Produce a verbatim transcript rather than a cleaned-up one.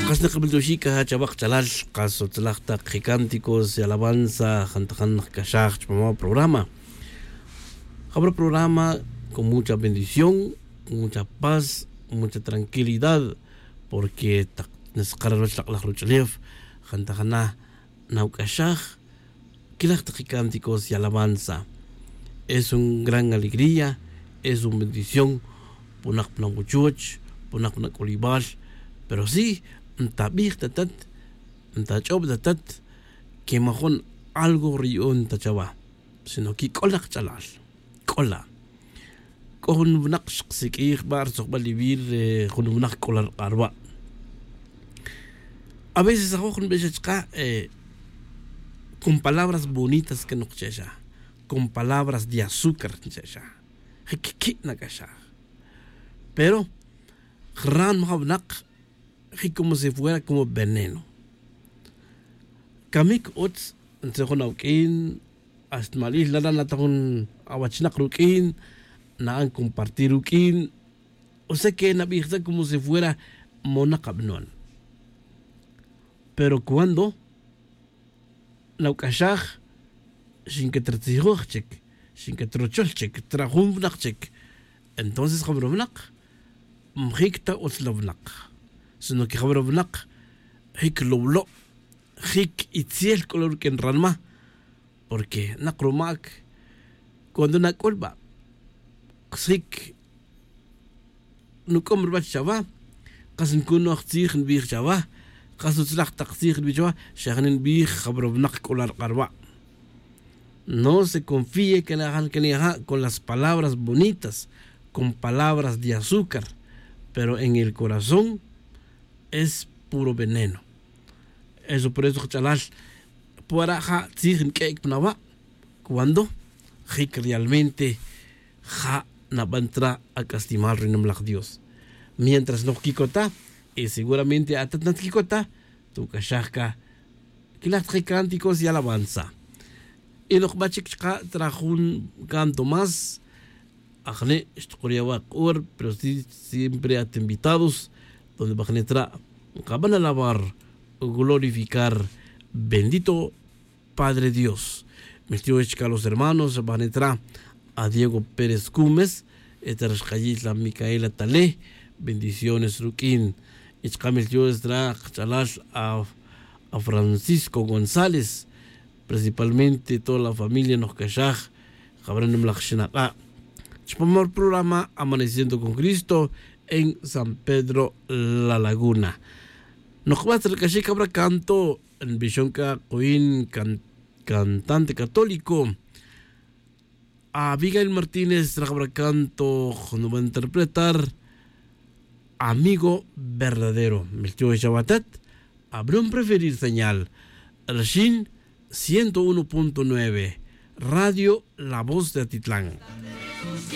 Kas nakabeltoxik aja chawak chalal. Kas utzalaj tak jicánticos y alabanza jantajan nakcaxaj chupama programa. Jabra programa con mucha bendición, con mucha paz, con mucha tranquilidad. Porque tak naskara ruch lak'laj ruch'ulef jantajana nawc'axaj. Quilaj tak jicánticos y alabanza. Es un gran alegría, es un bendición. Punak puna wuchuch, punak puna c'ulibal. Pero sí, ntabij tatat, ntach'ob tatat que majun algo riyu'un ta chawa, sino que c'o laj ch'alal. C'o la c'o jun winak xkasiq'uij ba' rutzojbal ivir. Jun winak c'o la rk'arwa'. A veces ajoj nbixej chka' con palabras bonitas que nokche'xa, con palabras de azúcar nche'xa. Jic qui' nac'axaj. Pero jran maja' winak jic como si fuera como veneno. Camic utz ntzejun awuq'uin. Hasta malil nara' nata jun awachinak ruq'uin, na'an compartir ruq'uin. O sea que nabij tza como si fuera monak abanon. Pero cuando nawc'axaj xinquetratzijoj chic, xinquetrochol chic tra jun winak chic, entonces jabra winak mjic ta utz la winak, sino que jabra winak jic lowlo', jic itzel c'o la ruq'uin ranma. Porque nak rumac cuando nac'ul ba' ksic nuc'om ruwech chawa, kas ncunoj tzij nbij chawa, kas utzlaj tak tzij nbij chawa, xa jani nbij jabra winak c'o la rk'arwa'. No se confíe que najan que naja' con las palabras bonitas, con palabras de azúcar, pero en el corazón es puro veneno. Eso por eso kach'alal, puara' ja' tzij nq'uec' pa nawa' cuando jic realmente ja' naban tra ac'aslemal ri nimalaj Dios. Mientras noj quicota, y seguramente atat nat quicota, tuc'axaj ca quilaj tak cánticos y alabanza. Y noj ba chic chka' tra jun canto más, ajne' xtukuria' wa' k'or, pero sí siempre at invitados donde bajne' tra' nkaban alabar, glorificar, bendito Padre Dios. Meltiox chka' los hermanos bajne' tra' a Diego Pérez Cumes, y tra' xkayil a Micaela Tale, bendiciones ruq'uin. Y chka' meltiox tra' kach'alal a Francisco González, principalmente toda la familia noj caxaj jabra nimalaj xinak'a' chupam ri programa Amaneciendo con Cristo en San Pedro La Laguna. Noj ba tzalc'axic jabra canto nbixon c'a kuyin cantante católico Abigail Martínez, raj jabra canto nban interpretar. Amigo verdadero, meltiox chawa atat. Abron preferir señal rxin ciento uno punto nueve, radio La Voz de Atitlán.